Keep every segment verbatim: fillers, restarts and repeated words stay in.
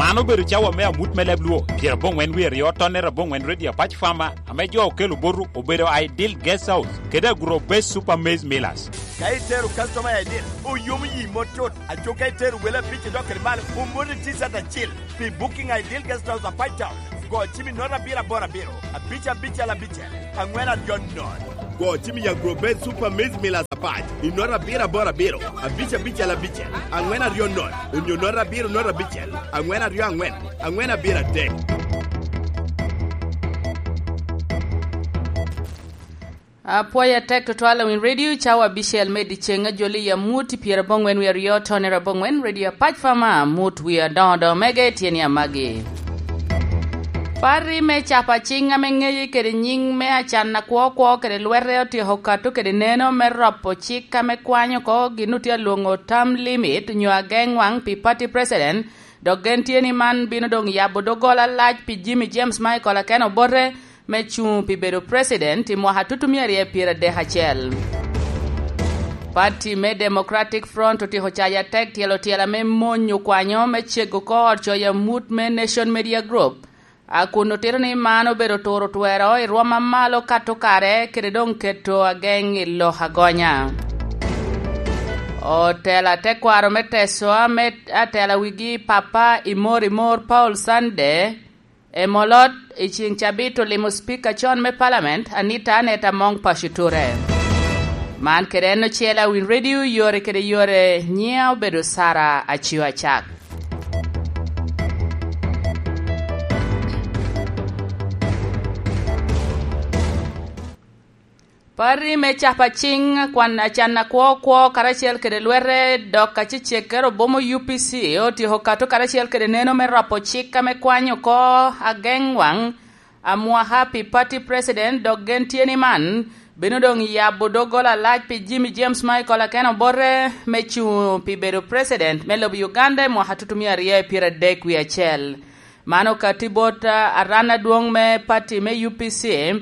An obedo cawa me amut me leb Luo, pyerabongwen wie aryo, tonnere abongwen, Radio Apac Farmer, ame jo okelo botu obedo Ideal Guest House kede Agro Base Super Maize Millers. Ka itero customer i Ideal, oyomo yi mot tut. Aco ka itero wele abic i dok kede malo, omoti T-shirt acil. Pi booking Ideal Guest House Apac Town, go cim i nota abiro aboro abiro, abic abicel abicel, angwen aryo nono. Go cim i Agro Base Super Maize Millers Apac i nota abiro aboro abiro, abic abicel abicel, angwen aryo nono, onyo nota abiro nota abicel, angwen aryo angwen, angwen abiro adek. Apwoyo atek tutwal, Awiny Radio, cawa abicel me dyeceŋ, ajoli i amut i pyerabongwen wie aryo, tonnere abongwen, Radio Apac Farmer, amut wie adoŋo doŋo mege tye ni amagi. Party me capo aciŋ ame ŋeye kede nyiŋ me Acan Akwo Kwo kede Lwete otyeko kato kede neno me ropo cik ame kwanyo oko gin otye alwoŋo term limit nyo ageŋ waŋ pi party president, dok gen tye ni man bino doŋ yabo doggola lac pi Jimmy James Michael Aken Obote me cuŋ pi bedo president i mwaka tutumia aryo pyeradek acel. Party me Democratic Front otyeko cayo atek tyelo tyela me mony okwanyo me cego oko ot coyo amut me Nation Media Group, a kun otito ni man obedo turo twero i rwom a malo kato kare kede doŋ keto ageŋ i lok agonya. Otela tekwaro me Teso ame atela wigi Papa Imor Imor Paul Sande, Emolot i ceŋ cabit olimo Speaker con me Parliament, Anita Aneta Among Pacio Ture. Man kede en ocele, Awiny Radio, yore kede yore, nyiŋa obedo Sara Acio Acak. Party me capo aciŋ kwan Acan Akwo Kwo karacel kede Lwete dok Acecek Kerobomo U P C otyeko kato karacel kede neno me ropo cik ame kwanyo oko ageŋ waŋ amwaka pi party president, dok gen tye ni man bino doŋ yabo doggola lac pi Jimmy James Michael Aken Obote me cuŋ pi bedo president me lobo Uganda i mwaka tutumia aryo pyeradek wie acel. Man okati bot, ah, aran adwoŋ me party me U P C,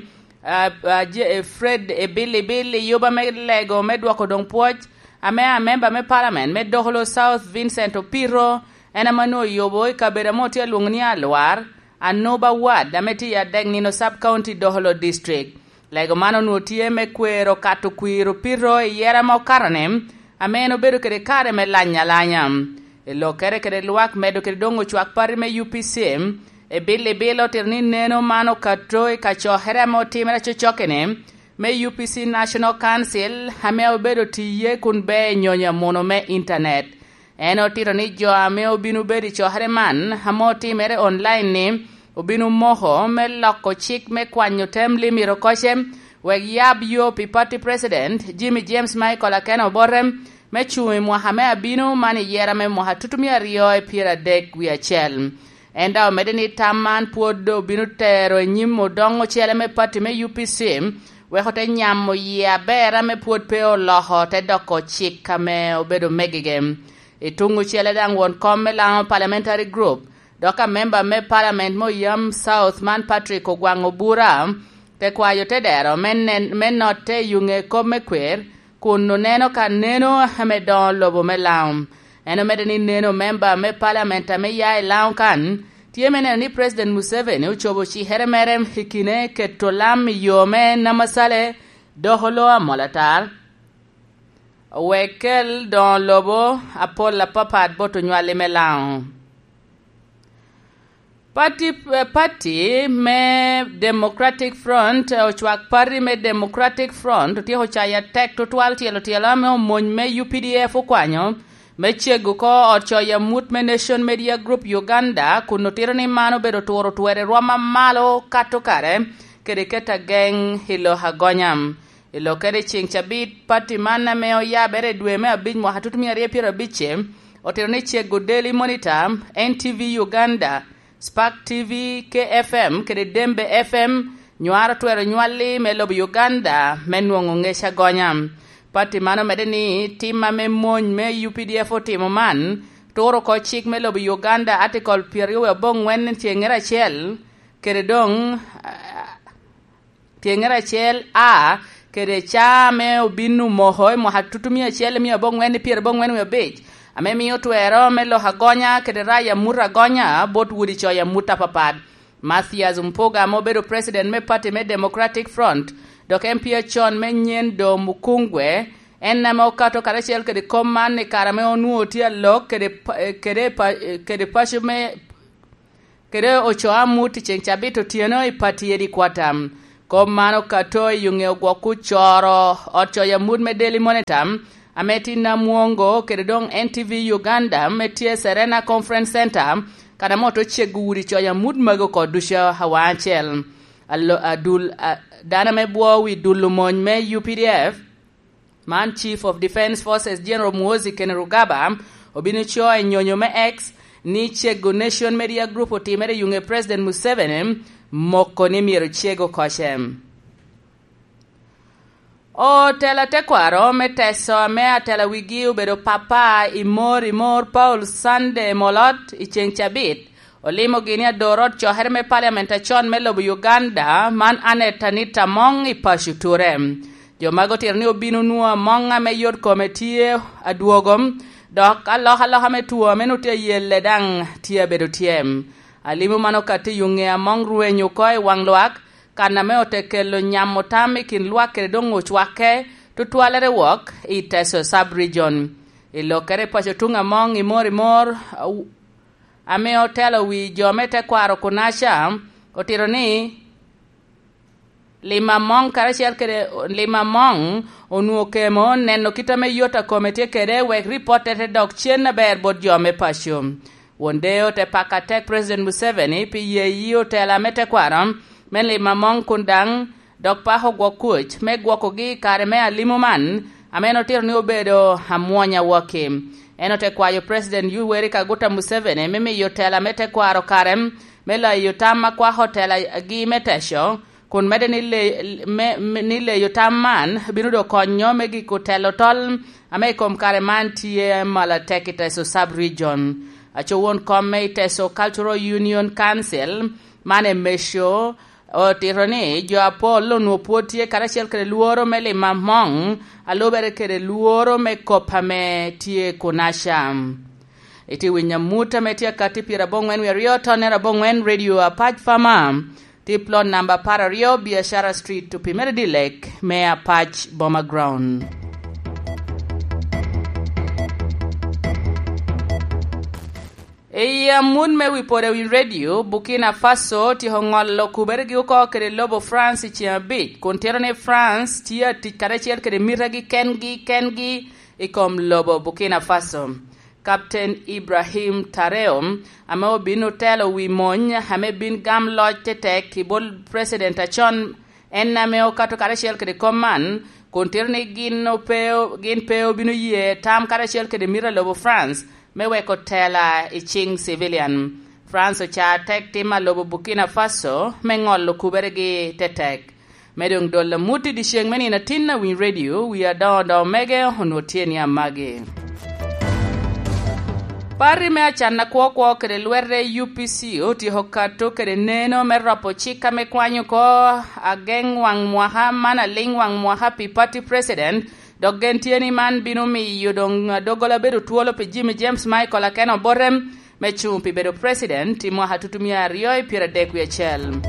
ah, ah, je-, eh, Fred Ebilibil i yuba me lego me dwoko doŋ pwoc, ame amemba me parliament me Dokolo South Vincent Opiro, en ame onwoŋo oyubo i kabedo ame otye alwoŋo ni Alwar, Anuba Ward, ame tye i Adek Nino Sub County, Dokolo District. Lego man onwoŋo tye me kwero kato kwir Opiro i yera ma okato-ni, ame en obedo kede kare me lany alanya. I lokkere kede lwak medo kede doŋ ocwak party me U P C, Ebilibil otito ni neno man okato i kacokere ame otimere cocokki-ni me U P C National Council, ame obedo tiye kun ber i nyonyo amuno me intanet. En otito ni jo ame obino bedo i cokere man ame otimere online-ni obino moko me loko cik me kwanyo tem limit okoce, wek yab yo pi party president Jimmy James Michael Aken Obote me cuŋ i mwaka me abino man i yera me mwaka tutumia aryo pyeradek wie acel. En daŋ omedde ni tam man pwod obino tero i nyim odoŋ ocele me party me U P C, wek ote nyamo yie aber ame pwod pe oloko te doko cik ame obedo megege. I tuŋ ocele daŋ won kom me Laŋo Parliamentary Group, dok amemba me parliament me Oyam South man Patrick Ogwaŋ Obura, te kwayo te dero me nen-, me notte i yuŋe kop me kwer, kun oneno ka neno ame doŋo lobo me Laŋo. En omedde ni neno memba me parliament ame ya i Laŋo kan tye me neno ni President Museveni ocobo cikere mere i kine keto lam i yo me Namasale, Dokolo, Amolatar, wek kel doŋo lobo apol apapat bot onywali me Laŋo. Pati, eh, pati me Democratic Front, eh, ocwak pati me Democratic Front otyeko cayo atek tutwal tyelo tyelo ame omony me U P D F okwanyo me cego oko ot coyo amut me Nation Media Group Uganda, kun otito ni man obedo turo twero i rwom a malo kato kare kede keto ageŋ i lok agonya. I lokkere i ceŋ cabit, pati man ame oyabere i dwe me abic mwaka tutumia aryo pyerabicce, otito ni cego Daily Monitor, N T V Uganda, Spark T V, K F M kede Dembe F M nywaro twero nywalli me lobo Uganda me nwoŋo ŋec agonya. Pati man omedde ni tim ame mony me U P D F otimo man turo oko cik me lobo Uganda, Article pyeraryo wie aboŋwen, ceŋŋere acel, kede doŋ, ah, tyeŋere acel A, kede ca ame obin omoko i mwaka tutumia acel mia aboŋwen pyerabongwen wie abic, ame mio twero me lok agonya kede rayo amut agonya bot udi coyo amut apapat. Mathias Mpuga ame obedo president me party me Democratic Front, dok M P acon me Nyendo Mukungwe, en ame okato karacel kede kom man i kare ame onwoŋo tye alok kede pa-, kede pa-, kede paco me kede ocoo amut i ceŋ cabit otyeno i Pattiedi Quarter. Kop man okato i ŋe ogwok ocoro ot coyo amut me Daily Monitor, ame tin Amwongo kede doŋ N T V Uganda me tye Serena Conference Center, kan ame oto cego udi coyo amut magi oko ducu awaŋ acel. Alo-, adul, a, dano ame bwo wi dulo mony me U P D F, man Chief of Defence Forces General Muhoozi Kainerugaba obino co i nyonyo me X ni cego Nation Media Group otimere i ŋe President Museveni, moko ni myero cego koce. Otela tekwaro me Teso ame atela wigi obedo Papa Imor Imor Paul Sunday Molot i ceŋ cabit, olimo gini ador ot cokere me Parliament acon me lobo Uganda, man Annet Anita Among i paco Ture. Jo magi otito ni obino nwoŋo Among ame yot kome tye adwogo, dok alokaloka me two ame nwoŋo tye ayelle daŋ tye abedo tye. Alimo man okato i ŋe Among rweny oko i waŋ lwak, kan ame ote kelo nyamo tam i kin lwak kede doŋ ocwakke, tutwalere wok i Teso Sub-Region. I lokkere i paco tuŋ Among Imor Imor, ame otelo wi jo me tekwaro Kunaca, otito ni Lima Mong karacel kede Lima Mong onwoŋo kemo neno kit ame yot a kome tye kede wek ripot te dok cen aber bot jo me paco. Won Deo te pako atek President Museveni pi yeyi otela me tekwaro me Lima Mong kun daŋ dok pako gwok kuc me gwokogi i kare me alimo man, ame en otito ni obedo amwonya wokki. En ote kwayo President Yoweri Kaguta Museveni me miyo tela me tekwaro kare me layo tam a kwako telagi me teco, kun medde ni le-, me, me, ni leyo tam man bino dok konyo me giko telo tol ame i kom kare man tye malo atek i Teso Sub-Region. Aco won kom me i Teso Cultural Union Council, man Emeco, otito ni jo apol onwoŋo pwod tye karacel kede lworo me Lima Mong, a lubere kede lworo me kop ame tye Kunaca. Itye winyo amut ame tye akatti pyeraboŋwen wie aryo tonnere aboŋwen, Radio Apac Fama, tye plot namba apar aryo, Biashara Street, opimere dilek me Apac Boma Ground. I amut me wi pwod i wi redio, Burkina Faso otyeko ŋolo kuberegi oko kede lobo France i ceŋ abic, kun tito ni France tye atic karacel kede mitegi kengi kengi i kom lobo Burkina Faso. Captain Ibrahim Traoré, ame obin otelo wi mony ame bin gam loc tetek i bot President acon, en ame okato karacel kede kom man, kun tito ni gin ope, gin pe obino ye tam karacel kede mito a lobo France me weko tela i ciŋ civilian. France ocaa tek tim a lobo Burkina Faso me ŋolo kuberegi tetek. Me doŋ dol amut i dyeceŋ me nino atin a winy redio, wi adoŋo doŋo mege onwoŋo tye ni amagi. Party me acan akwo kwo kede lwete U P C otyeko kato kede neno me ropo cik ame kwanyo oko ageŋ waŋ mwaka man aliŋ waŋ mwaka pi party president, dok gen tye ni man bino miyo doŋ doggola bedo twolo pi Jimmy James Michael Akena Obote me cuŋ pi bedo president i mwaka tutumia aryo i pyeradek wie acel.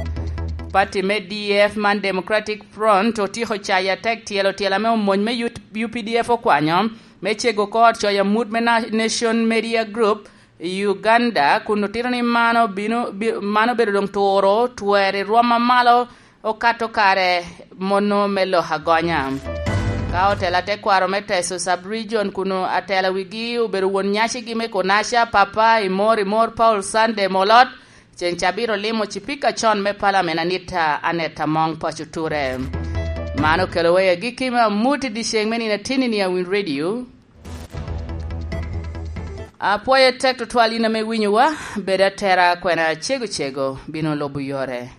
Party me D F man Democratic Front otyeko cayo atek tyelo tyel ame omony me U P D F okwanyo me cego oko ot coyo amut me na-, Nation Media Group i Uganda, kun otito ni mano bino, bi-, mano bedo doŋ turo twer i rwom amalo okato kare mono me lok agonya. Ka otela tekwaro me Teso Sub-Region kun atela wigi obedo won nyacigi me Konasha, Papa Imor Imor Paul Sunday Molot, ceŋ cabit olimo cipika acon me Palamen Anita Aneta Among Paco Ture. Man okelo wa i agikki me amut i dyeceŋ me nino atinni a Win Radio. Apwoyo tek tutwal in ame winyowa, bed atera kwena cego cego bino lubo yore.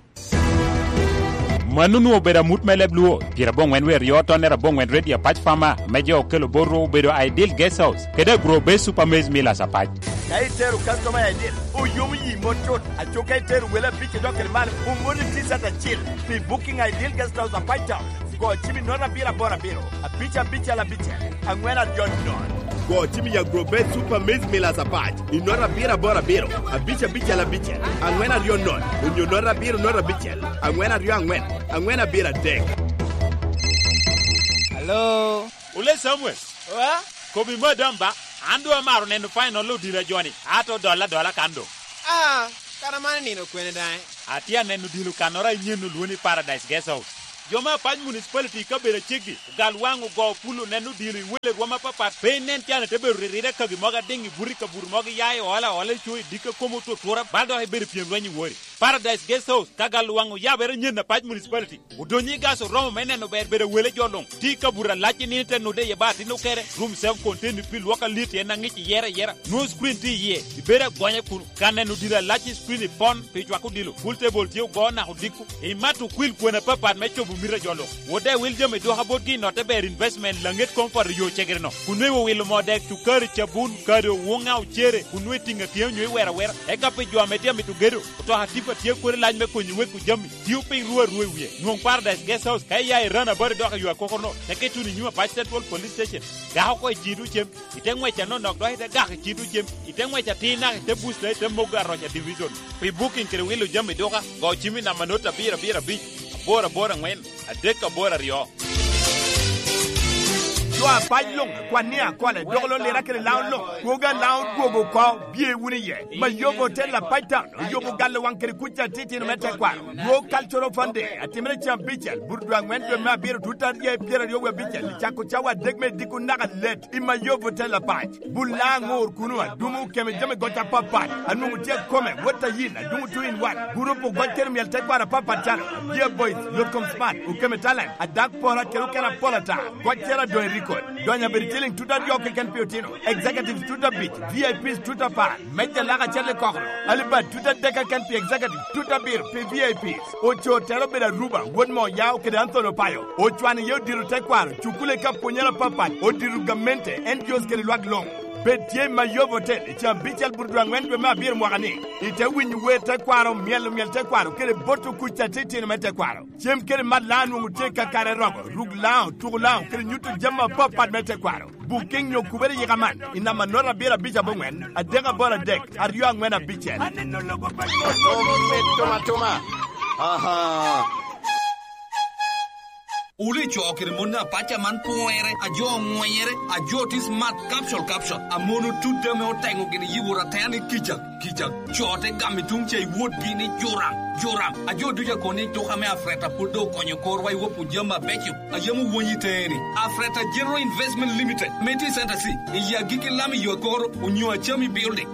Mano onwoŋo obedo amut me leb Luo, pyera aboŋwen wie aryo tonnere aboŋwen Redio Apac Fama, me jo okelo botwu obedo Ideal Guest House, kede Agro Base Super Maize Millers Apac. Ka itero customer Ideal, oyomo yi mot cut, aco ka itero wele abic i dok kede malo, omoni T-shirt acil. Pi booking Ideal Guest House Apac Town, go cim i note abiro aboro abiro, abic abicel abicel, angwen aryo nono. Go cim i Agrobet Super Maize Millers Apac i nota abiro aboro abiro, abic abicel abicel, aŋwen aryo nono, onyo nota abiro nono abicel, aŋwen aryo aŋwen, aŋwen abiro adek. Hello? Ole Samuel. Wa? Kobi madam ba, an doŋ amaro neno final odilo a joni, ato dolla adola kan doŋ. Ah, kara man nino kwene daŋ? Atye aneno odilo kannoro a inyen olwoni Paradise Guest House. Jo me Apac Municipality i kabedo aceggi, ogal waŋ ogo pulo neno odilo i wele rwom apapat, pe inen can ite bedo ririre kagi mogo adiŋ i buto i kabuto mogo iya i ola ola i co i dikka komo otutura, bal dok ibedo pyem lweny i wori. Paradise Guest House, ka gal waŋ oyabere nyen Apac Municipality. Odonyo i gas oromo me neno ber bedo wele jo luŋ. Ti ka buto alac i nino te nude iye ba atin okere. Room self contained pi lwok alit en aŋic iyere ayera. Nwoŋo screen ti iye. Ibedo agonya kunu. Ka neno diro alac i screen i pon pi cwako dilo. Pool table tye ogo naka odiko. Imat okwil kwena papat me cobo mito a jo luŋ. Wode wil jami dwoka botgi i notte ber investment laŋet comfort i yo cegere no. Kun nweŋ owilo moo dek, cukari, cabun, kado, wuŋa, ocere, kun nweŋ itiŋ atyeŋ onyo iwero awera. Eka pi jo ame tye amito gedo, otoka tipa tye kodi lac me konyo weko jami. Tio piny ru arua i wie. Nwoŋ Paradise Guest House ka iya i Run About dok i yo akokono, teke ituno i nyim Apac Central Police Station. Gak oko i cito cem, ite ŋwec anonok dok ite gak i cito cem, ite ŋwec atir naka ite Bush dok ite mogo Aroca Division. Pi booking kede wilo jami duka, go cim i namba not abiro abiro abic, aboro aboro aŋwen, adek aboro aryo. Jo apac luŋ, kwan ni akole, dok lo lira kede laun luŋ, kwoga laun dwogo oko, bye wunu iye. Mayobo Hotel Apac Town, oyobo galo waŋ kede kuc atitino me tekwaro. Dwog Cultural Fun Day, atimere cen abicel, buto dwe aŋwen dwe me abiro, tut aryo i pyeraryo wie abicel, cako cawa adek me diko naka let, i Mayobo Hotel Apac. Bul laŋ ŋur kunu, adumo keme jami goc apapat, anwoŋo tye akome, wot ayin, adumo two in one, gurup ogoc kede myel tekwaro apapat calo, Dear Boys, Yotkom Smart, Okeme Talent, Adak Pora kede okene apol ata, goc cero adoŋ i record, donyo abedo ciliŋ tut aryo keken pi otino, executives tut abic, V I Ps tut apar, meja lak acel i kokoro, alibad tut adek keken pi executive, tut abiro pi V I Ps, ocoo tero obedo Aruba, wod Moya, kede Anthony Opayo, ocwano iye odiro tekwaro, cukule ka pwonyere apapat, odiro gamente, N G Os kede lwak luŋ. Bed tye i Mayobo Hotel i caa abicel buto dwe aŋwen dwe me abiro mwaka ni, ite winyo wer tekwaro, myelo myel tekwaro, kede boto kuc atitino me tekwaro. Cem kede mat laŋo nwoŋo tye kakare romo, ruk laŋo, tuko laŋo, kede nyuto jami apapat me tekwaro. Booking nyo kubere yika man, i namba nota abiro abic aboŋwen, adek aboro adek, aryo aŋwen abicel. Aneno lobo pa Omit tuma tuma. Aha. Wule co kede mon apaca man pwere, a jo oŋwenyere, a jo tye smart capsule, capsule. A mon otut ame oteŋo gin yibo ratene kica, kica. Co te gamo i tuŋ ca i wotgi ni joram, joram. A jo ducu akobo ni tuka me Afreta pwod doŋ okonyo korwa i wopwu jami abeco. A yam owonyi teni. Afreta General Investment Limited, me tye i Center C, i agikki lam i yo akoro, onyo Achami Building.